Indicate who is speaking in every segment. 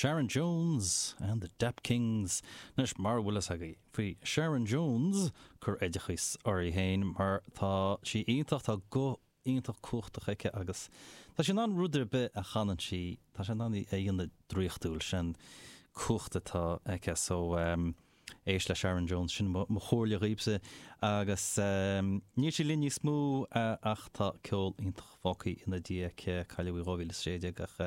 Speaker 1: Sharon Jones and the Dap Kings. Anois, mara bhfuil fhios agaibh faoi Sharon Jones, cuir oideachas uirthi féin mar tá sí iontach, tá guth iontach cumhachtach aici agus tá sí in ann rud ar bith a chanann sí, tá sí in ann é a dhéanamh draíochtúil, sin cumhacht atá aici. So, éist le Sharon Jones, sin mo chomhairle dhaoibhse. Agus níl sí linn níos mó ach tá ceol iontach fágtha ina diaidh aici, cailleadh í 2016 ach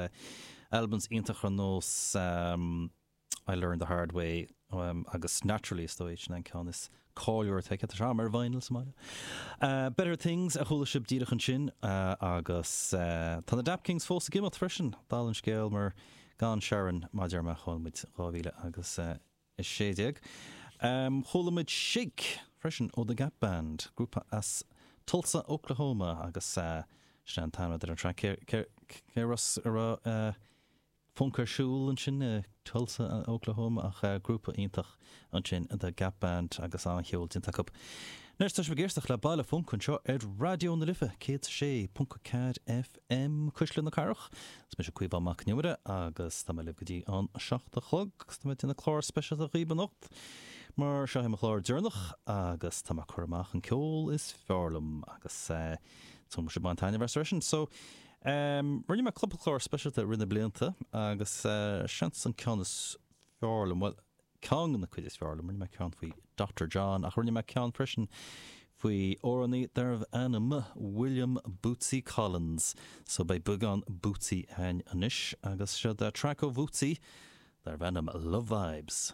Speaker 1: albums iontach ar nós I Learned the Hard Way agus Naturally is dóigh, sin an ceann is cáiliúla atá aici, tá sé agam ar vinyl sa mbaile. Better Things a chuala sibh díreach ansin agus tá na Dap Kings fós ag imeacht freisin, dála an scéil mar gan Sharon mar a deir mé chaill muid 2000 agus 16. Chuala muid Shake freisin ó The Gap Band, grúpa as Tulsa, Oklahoma agus sin an t-ainm ar an traic. Cé raibh funk ar siúl ansin i Tulsa, Oklahoma ach grúpa iontach ansin The Gap Band agus an-cheol déanta acu. Anois tá sibh ag éisteacht le Baile Func anseo ar Raidió na Life 106.4 FM. M, Cuisle na Cathrach. Is mise Caomhán Mac Con Iomaire agus tá mé libh go dtí an 7 a chlog agus tá mé ag déanamh clár speisialta dhaoibh anocht mar seo é mo chlár deireanach agus tá mé ag cur amach an ceol is fearr liom agus tá súil agam go bhfuil sibh ag baint taitneamh as freisin. So, rinne mé cúpla clár speisialta i rith na blianta agus seans an ceann is fearr liom, bhuel, ceann de na cuid is fearr liom, rinne mé ceann faoi Doctor John ach rinne mé ceann freisin faoi amhránaí darbh ainm William Bootsy Collins. So beidh beagán Bootsy againn anois agus seo track ó Bhootsy darbh ainm Love Vibes.